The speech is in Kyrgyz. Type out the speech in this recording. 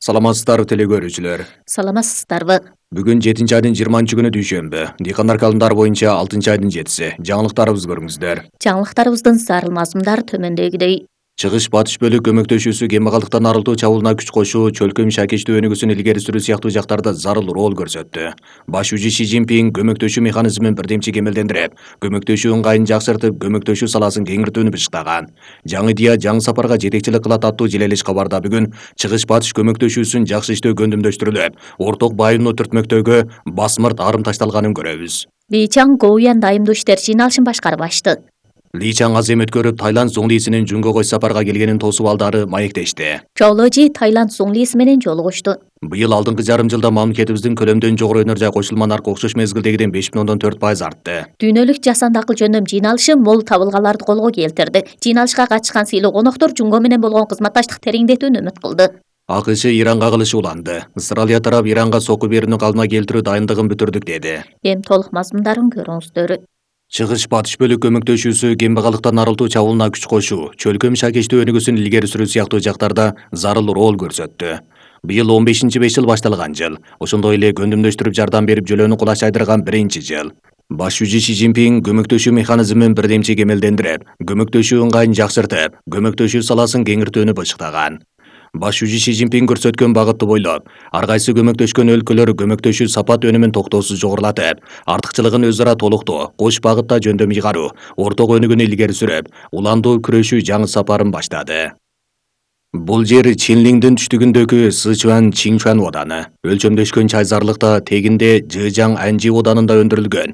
Саламатсыздарбы теле көрүүчүлөр. Саламатсыздарбы. Бүгүн 7-айдын 20-күнү дүйшөмбү. Дыйкандар календары боюнча 6-айдын 7-си. Жаңылыктарыбызды көрүңүздөр. Жаңылыктарыбыздын зарыл мазмундары төмөндөгүдөй. Чыгыш батыш бөлүк көмөктөшүүсү кембагалдыктан арылтуу чабуулуна күч кошуу, чөлкөм шакечтүү өнүгүүсүн илгери сүрүү сыяктуу жактарда зарыл роль көрсөттү. Баш жүзү Си Цзиньпин көмөктөшүү механизмин бирдемчи кемелдендирип, көмөктөшүү ыңгайын жакшыртып, көмөктөшүү саласын кеңиртүүнү бышыктаган. Жаңы идея жаңы сапарга жетекчилик кылат аттуу желелеш кабарда бүгүн чыгыш батыш көмөктөшүүсүн жакшы иштөө көндүмдөштүрүлүп, орток байымдуу түртмөктөөгө басмырт арым ташталганын көрөбүз. Ли Чан Гоуян дайымдуу иштер жыйналышын башкарып ачты. Ли Чан азем өткөрүп, Таиланд зуңлисинин Жунго коч сапарга келгенин тосуп алдары маектешти. Чоуложи Таиланд зуңлиси менен жолугушту. Быйыл алдыңкы жарым жылда мамлекетибиздин көлөмдөн жогору өнөр жай кошулма наркы окшош мезгилдегиден 5,4% артты. Дүйнөлүк жасандыкыл жөндөм жыйналышы мол табылгаларды колго келтирди. Жыйналышка катышкан сыйлуу коноктор Жунго менен болгон кызматташтык тереңдетүүнү үмүт кылды. АКШ Иранга кылышы уланды. Австралия тарап Иранга сокку берүүнү калдыма келтирүү дайындыгын бүтүрдүк деди. Эми толук мазмундарын көрүңүздөр. Чыгыш батыш бөлүк көмөктөшүүсү кембагалдыктан арылтуу чабуулуна күч кошуу, чөлкөм шакечтүү өнүгүүсүн илгери сүрүү сыяктуу жактарда зарыл роль көрсөттү. Быйыл 15-5 жыл башталган жыл. Ошондой эле көндүмдөштүрүп жардам берип жөлөөнү кулач айдырган биринчи жыл. Баш жүзү Си Цзиньпин көмөктөшүү механизмин бирдемчи кемелдендирип, көмөктөшүү ыңгайын жакшыртып, көмөктөшүү саласын кеңиртүүнү бышыктаган. Баш жүзү Си Цзиньпин көрсөткөн багытты бойлоп, ар кайсы көмөктөшкөн өлкөлөр көмөктөшүү сапат өнүмүн токтоосуз жогорулатып, артыкчылыгын өз ара толуктоо, кош багытта жөндөм ыйгаруу, орток өнүгүүнү илгери сүрүп, уландуу күрөшүү жаңы сапарын баштады. Бул жер Чинлиңдин түштүгүндөгү Сычуань Чинчуан ооданы. Өлчөмдөшкөн чай зарлыкта тегинде Жыжаң Анжи оодарында өндүрүлгөн